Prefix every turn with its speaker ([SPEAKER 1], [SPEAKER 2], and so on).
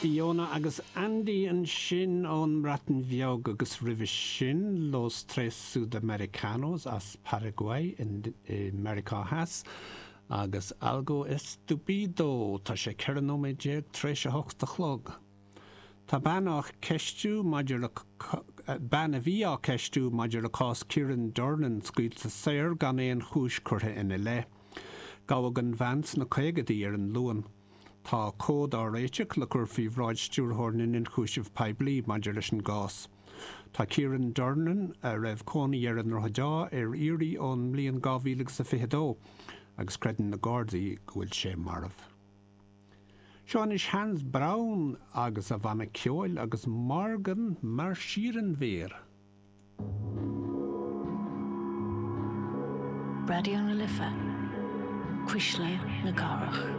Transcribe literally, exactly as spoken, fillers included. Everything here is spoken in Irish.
[SPEAKER 1] Iona agus Andy ansin ón mBreatain Bheag agus roimhe sin Los Tres Sudamericanos as Paraguay in, i Meiriceá Theas agus Algo Estúpido tá sé ceithre nóiméad déag tar éis a hocht a chlog. Tá bean á ceistiú maidir le bean a bhí á ceistiú maidir le cás Kieran Durnan scaoilte saor gan aon chúis curtha ina leith. Gabhadh an bhean sna caogaidí ar an Luan. Tá comhad á réiteach le cur faoi bhráid stiúrthóir na n-ionchúiseamh poiblí maidir leis an gcás. Tá Kieran Durnan a raibh cónaí air i nDroichead Átha ar iarraidh ón mbliain dhá mhíle agus a fiche dó agus creideann na Gardaí go bhfuil sé marbh. Seo anois Hannes Braun agus a bhanna ceoil agus Morgen marschieren wir.
[SPEAKER 2] Raidió na Life, Cuisle na Cathrach.